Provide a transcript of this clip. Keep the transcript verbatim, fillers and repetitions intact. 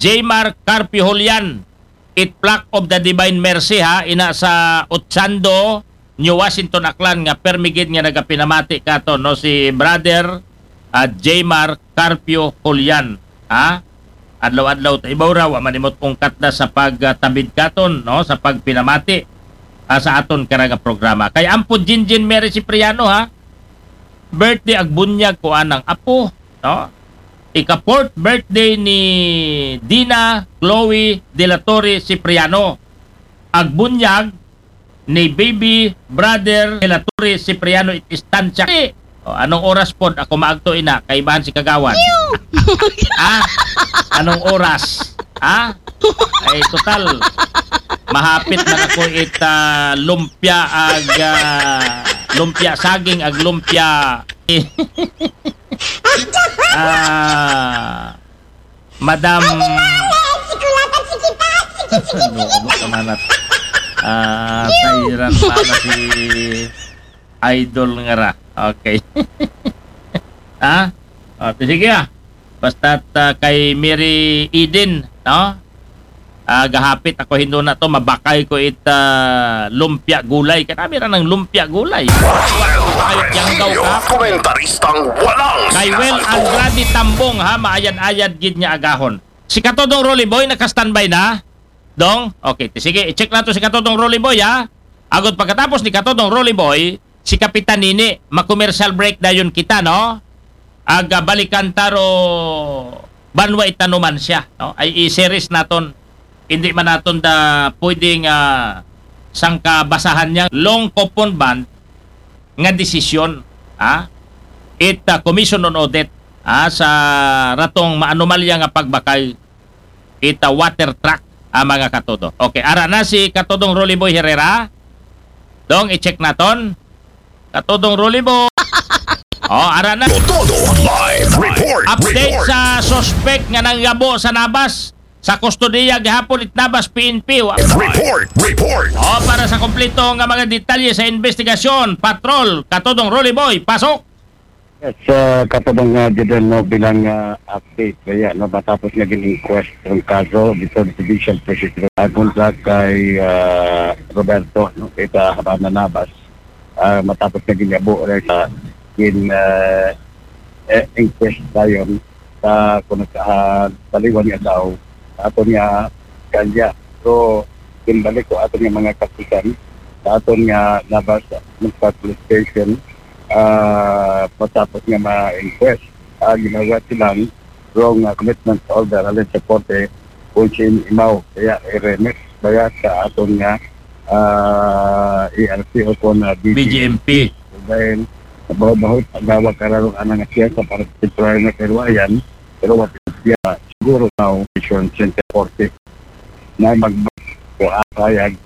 Jmar Carpio Julian, it Plaque of the Divine Mercy, ha, ina sa Ochando, New Washington, Aklan, nga permi gid nga nagapinamati katon, no, si Brother, ah, Jmar Carpio Julian, ha? Adlaw-adlaw ta ibaw ra, wa man imot ungkat na sa pagtabid katon, no, sa pagpinamati, ah, sa aton karaga programa. Kay ampo Jinjin Mary Cipriano, ha? Birthday ag bunyag ko anang apo, no? Ika-fourth birthday ni Dina Chloe de la Torre Cipriano. Ag bunyag ni baby brother de la Torre Cipriano it Estancia. O, anong oras pod ako maagto, ina? Kaibahan si Kagawan. Ah? Anong oras? Ah? Ay, total. Mahapit na ako it, ah, lumpia ag, ah, lumpia saging ag lumpia. Ah, Madam. Ano, ano ka man at, ah, sayran pa na si idol nga ra. Okay. Ha? O, ti sige, ah. Basta, ah, kay Mary Eden, no? Ah, gahapit ako hindo na to, mabakay ko it, ah, lumpia gulay. Kanami ra ng lumpia gulay. Ayot yang daw ka. Komentaristang walang Kay Well sinasubok. Andrade Tambong, ha, maayad-ayad gid nga agahon. Si Katodong Rolly Boy, naka-standby na? Dong? Okay, ti sige, i-check nato si Katodong Rolly Boy, ha? Agod pagkatapos ni Katodong Rolly Boy, si Kapitan Nini, ma-commercial break dayon kita, no? Ag, ah, balikan ta ro banwa itanuman siya, no? Ay i-series naton. Hindi man naton da pwedeng, ah, sangka basahan niya long coupon bond nga desisyon, ha? It, ah, Commission on Audit, ha, sa ratong maanomalya nga pagbakay it, ah, water truck, ah, mga katodo. Okay, ara na si Katodong Rolly Boy Herrera. Dong, i-check naton. Katodong Rolly Boy. Oh, ara na. Todo live report. Update report. Sa suspect nga nanggabo sa Nabas. Sa kustodiya gihapon it Nabas P N P. Wa- Report, report. Oh, para sa kompleto nga mga detalye sa investigasyon, patrol, Katodong Rolly Boy, pasok. Yes, uh, Katodong, uh, Jidel, no, bilang, uh, update, kaya, no, matapos nga gin-inquest ang kaso dito sa Judicial Prosecutor, agon sa kay, uh, Roberto, no, kita Habana Nabas, uh, matapos nga gin-abo rin sa gin, uh, eh, inquest dayon sa kung nagka-, ah, taliwan nga tao, aton nga kalya. So, gimbalik ko aton nga mga kapulisan, sa aton nga Nabas Municipal Police Station, ah, matapos nga ma-inquest, ah, ginawa silang wrong, ah, commitment order halin sa korte kung sa imaw. Kaya i-remit baya sa aton nga, ah, E R C o kung, ah, B G M P. B G M P. Dahil bahut-bahut, nagawag kararong anang siya sa particular nga karuayan, pero what is siya siguro now, Vision Center forty. Na mag-, ko, ah, sayag,